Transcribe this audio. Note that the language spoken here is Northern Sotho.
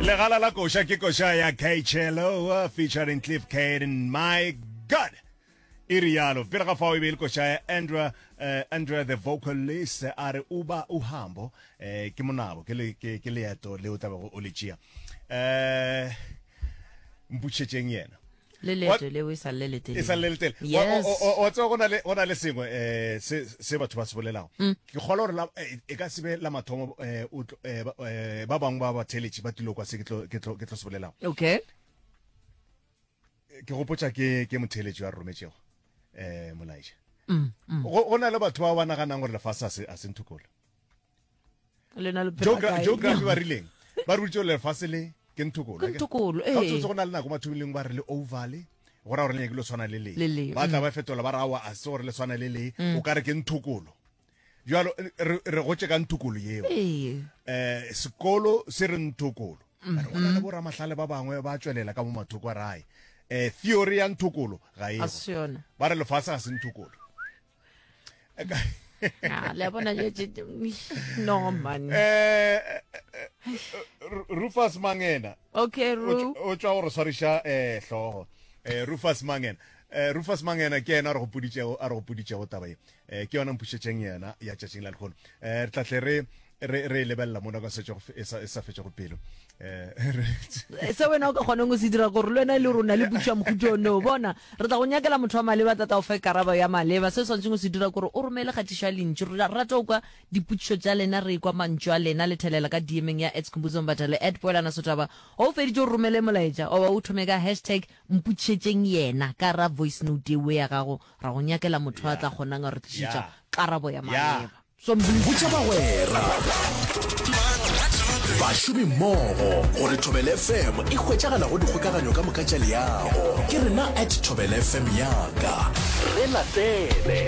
Legala la koša ke koša ya Kchelo featuring Cliff Caden. My God! E rialo. Pele ga fao e be e le koša ya Andrea, uh, Andrea the vocalist a re uba uhambo eh, ke monabo ke, le, ke, ke leeto le o tlabego o le tšea. Eh, mputšhetšeng yena. Le leeto leo e sa le letelele. E sa le letelele. Yes. Wa tseba go na le go na le sengwe eh se se batho ba se bolelago. Mm. Ke kgolwa gore la eh, e ka se be la mathomo eh, o tlo- eh, ba eh, ba bangwe ba batheeletši ba tlilo kwa se ke tlo ke tlo ke tlo se bolelago. Okay. Ke gopotša ke ke motheeletši wa re rometšego eh molaetša. Mm, mm. Go go na le batho ba ba naganang gore lefase a se a se nthokolo. Lena le phela kae? Geography ba rileng? Ba re boditše gore lefase le ke nthokolo. Ke nthokolo, ee. Ga o go na le nako mathomileng ba re le oval, go ra gore le nyakile go tshwana le le. Le le. Ba tla mm. ba fetola ba re aowa a se gore le tshwana le le, mm. o ka re ke nthokolo. Jalo re re gotše ka nthokolo yeo. Ee. Eh sekolo se re nthokolo. Mm -hmm. Go na le boramahlale ba bangwe ba tšwelela ka mo mathoko a rae. Eh theory ya nthokolo ga e. Ba re lefase ga se nthokolo. Ah, le a bona no man eh, eh, eh Rufus Mangena okay Ru o tšwa go re swariša eh hlogo eh Rufus Mangena eh Rufus Mangena ke yena a re gopoditšego a re gopoditšego taba ye eh ke yona mpušetšeng yena ya tšatšing la lehono eh re tla tle re re re e lebelela mo nako e sa e sa e sa fetšego pelo eh re se wena o ka kgonang go se dira gore le wena e le gore o na le potšo ya mohuta ono bona re tla go nyakela motho wa maleba tla tla o fe karabo ya maleba se o swanetšeng go se dira gore o romele kgatišo ya lentšu re rata go kwa dipotšišo tša lena re kwa mantšu a lena le thelela ka dm-eng ya at Skhumbuzo Mbatha le at Poelana Sotaba o feditše o romele molaetša oba o thome ka hashtag mpotšišetšeng yena ka ra voice note eo ya gago ra go nyakela motho a tla kgonang a re tlišetša karabo ya maleba Botša bagwera, bašomimmogo gore Thobela FM e hwetšagala go dikgokaganyo ka moka tša leago. Ke rena at Thobela FM yaka. Re latele.